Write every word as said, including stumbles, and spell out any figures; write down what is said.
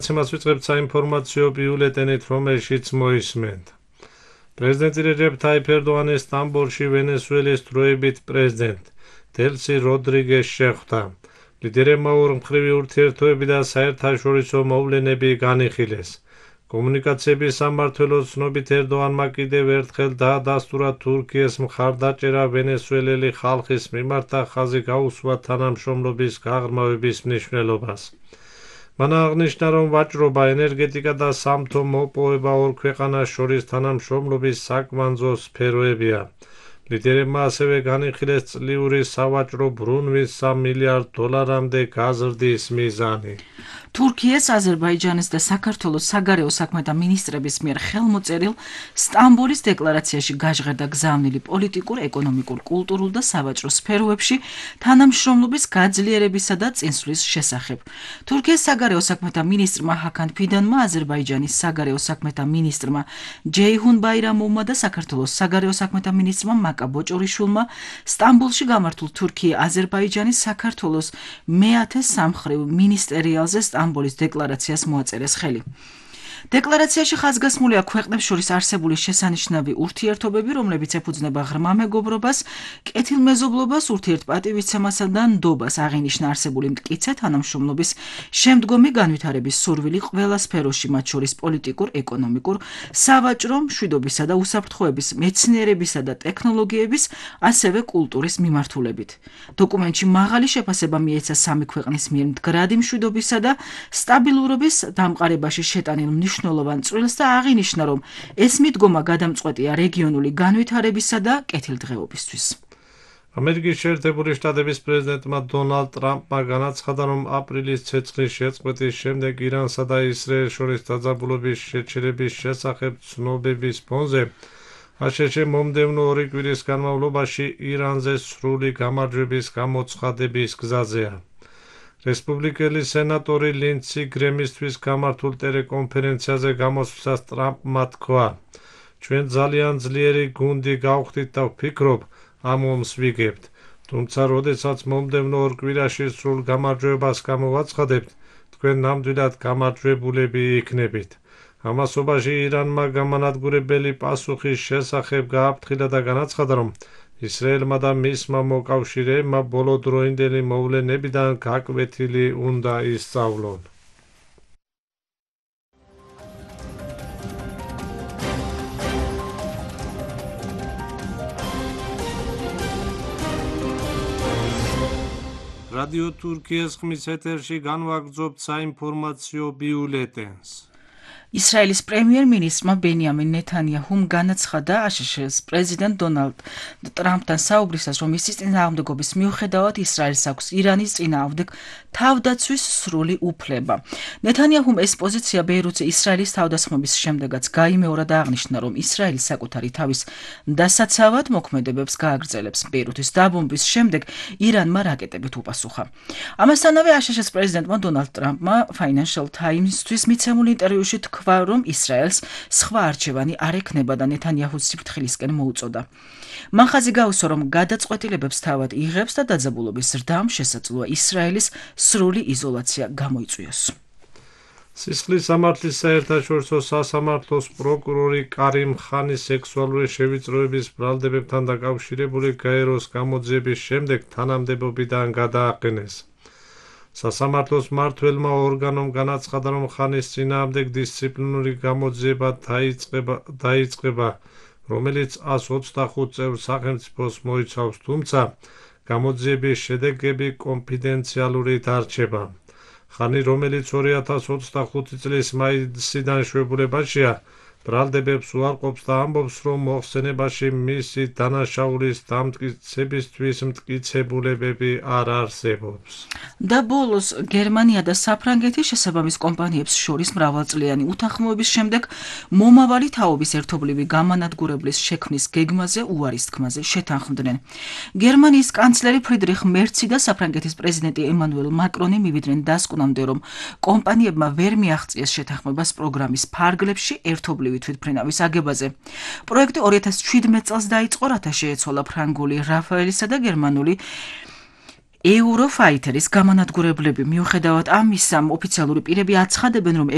Μας ვიწყებთ საინფორმაციო ბიულეტენით, რომელშიც მოისმენთ. პრეზიდენტი რეჯეფ თაიფ ერდოღანი სტამბოლში ვენესუელის დროებით პრეზიდენტ დელსი როდრიგესს შეხვდა. ლიდერებმა ორმხრივი ურთიერთობები და საერთაშორისო მოვლენები განიხილეს. კომუნიკაციების სამმართველოს ცნობით ერდოღანმა კიდევ ერთხელ დაადასტურა თურქიის მხარდაჭერა ვენესუელელი ხალხის მიმართ და ხაზი გაუსვა თანამშრომლობის გაღრმავების მნიშვნელობას. მან აღნიშნა, რომ ვაჭრობა, ენერგეტიკა და სამთო მოპოვება ორ ქვეყანას შორის თანამშრომლობის საკვანძო სფეროებია. ლიდერებმა ასევე განიხილეს წლიური სავაჭრო ბრუნვის სამ მილიარდ დოლარამდე გაზრდის მიზანი. თურქიის, აზერბაიჯანის და საქართველოს საგარეო საქმეთა მინისტრების მიერ ხელმოწერილ სტამბოლის დეკლარაციაში გაჟღერდა გზავნილი პოლიტიკურ, ეკონომიკურ, კულტურულ და სავაჭრო სფეროებში თანამშრომლობის გაძლიერებისა და წინსვლის შესახებ. თურქიის საგარეო საქმეთა მინისტრმა ჰაკან ფიდანმა, აზერბაიჯანის საგარეო საქმეთა მინისტრმა ჯეიჰუნ ბაირამოვმა და საქართველოს საგარეო საქმეთა მინისტრმა მაკა ბოჭორიშვილმა სტამბოლში გამართულ თურქია-აზერბაიჯანის საქართველოს მეათე სამმხრივ მინისტერიალზე სტამბოლის დეკლარაციას მოაწერეს ხელი. დეკლარაციაში ხაზგასმულია ქვეყნებს შორის არსებული შესანიშნავი ურთიერთობები, რომლებიც ეფუძნება ღრმა მეგობრობას, კეთილმეზობლობას, ურთიერთპატივისცემასა და ნდობას. აღინიშნა არსებული მტკიცე თანამშრომლობის შემდგომი განვითარების სურვილი ყველა სფეროში, მათ შორის პოლიტიკურ, ეკონომიკურ, სავაჭრო, მშვიდობისა და უსაფრთხოების, მეცნიერებისა და ტექნოლოგიების, ასევე კულტურის მიმართულებით. დოკუმენტში მაღალი შეფასება მიეცა სამი ქვეყნის მიერ მდგრადი მშვიდობისა და სტაბილურობის დამყარებაში შეტანილ მნიშვნელოვან წვლილს და აღინიშნა, რომ ეს მიდგომა გადამწყვეტია რეგიონული განვითარებისა და კეთილდღეობისთვის. ამერიკის შეერთებული შტატების პრეზიდენტმა დონალდ ტრამპმა განაცხადა, რომ აპრილის ცეცხლის შეწყვეტის შემდეგ ირანსა და ისრაელს შორის დაძაბულობის შეჩერების შესახებ ცნობების ფონზე აშშ მომდევნო ორი კვირის განმავლობაში ირანზე სრული გამარჯვების გამოცხადების გზაზეა. რესპუბლიკელი სენატორი ლინდსი გრემისთვის გამართულ ტელეკონფერენციაზე გამოსვლისას ტრამპმა თქვა, ჩვენ ძალიან ძლიერი გუნდი გავხდით და ვფიქრობ, ამ ომს ვიგებთ. თუმცა, როდესაც მომდევნო ორ კვირაში სრულ გამარჯვებას გამოვაცხადებთ, თქვენ ნამდვილად გამარჯვებულები იქნებით. ამასობაში ირანმა გამანადგურებელი პასუხის შესახებ გააფრთხილა და განაცხადა, რომ ისრაელმა და მისმა მოკავშირეებმა ბოლოდროინდელი მოვლენებიდან გაკვეთილი უნდა ისწავლონ. რადიო თურქიის ხმის ეთერში განვაგრძობთ საინფორმაციო ბიულეტენს. ისრაელის პრემიერ-მინისტრმა ბენიამინ ნეთანიაჰუმ განაცხადა აშშ-ს პრეზიდენტ დონალდ ტრამპთან საუბრისას, რომ ისის წინააღმდეგობის მიუხედავად ისრაელს აქვს ირანის წინააღმდეგ თავდაცვის სრული უფლება. ნეთანიაჰუმ ეს პოზიცია ბეირუთზე ისრაელის თავდასხმების შემდეგაც გაიმეორა და აღნიშნა, რომ ისრაელი საკუთარი თავის დასაცავად მოქმედებებს გააგრძელებს. ბეირუთის დაბომბვის შემდეგ ირანმა რაკეტებით უპასუხა. ამასთანავე აშშ-ს პრეზიდენტმა დონალდ ტრამპმა Financial Times-თვის მიცემულ ინტერვიუში თქვა, რომ ისრაელს სხვა არჩევანი არ ექნება და ნეთანიაჰუს სიფრთხილისკენ მოუწოდა. მან ხაზი გაუსვა, რომ გადაწყვეტილებებს თავად იღებს და დაძაბულობის ზრდამ შესაძლოა ისრაელის სრული იზოლაცია გამოიწვიოს. სისხლის სამართლის საერთაშორისო სასამართლოს პროკურორი კარიმ ხანის სექსუალური შევიწროების ბრალდებებთან დაკავშირებული გაეროს გამოძიების შემდეგ თანამდებობიდან გადააყენეს. სასამართლოს მმართველმა ორგანომ განაცხადა, რომ ხანის წინააღმდეგ დისციპლინური გამოძიება დაიწყება, რომელიც ას ოცდახუთ წევრ სახელმწიფოს მოიცავს, თუმცა გამოძიების შედეგები კონფიდენციალური დარჩება. ხანი, რომელიც ორი ათას ოცდახუთი წლის მაისიდან შვებულებაშია, ბრალდებებს უარყოფს და ამბობს, რომ მოხსენებაში მისი დანაშაულის დამტკიცებისთვის მტკიცებულებები არ არსებობს. და ბოლოს გერმანია და საფრანგეთი შესაბამის კომპანიებს შორის მრავალწლიანი უთანხმოების შემდეგ მომავალი თაობის ერთობლივი გამანადგურებლის შექმნის გეგმაზე უარის თქმაზე შეთანხმდნენ. გერმანიის კანცლერი ფრიდრიხ მერცი და საფრანგეთის პრეზიდენტი ემანუელ მაკრონი მივიდნენ დასკვნამდე, რომ კომპანიებმა ვერ მიაღწიეს შეთანხმებას პროგრამის ფარგლებში ერთობლივი თვითმფრინავის აგებაზე. პროექტი ორი ათას შვიდმეტ წელს დაიწყო, რათა შეეცვალა ფრანგული რაფაელისა და გერმანული Eurofighteris გამანადგურებლები. მიუხედავად ამისა, ოფიციალური პირები აცხადებენ, რომ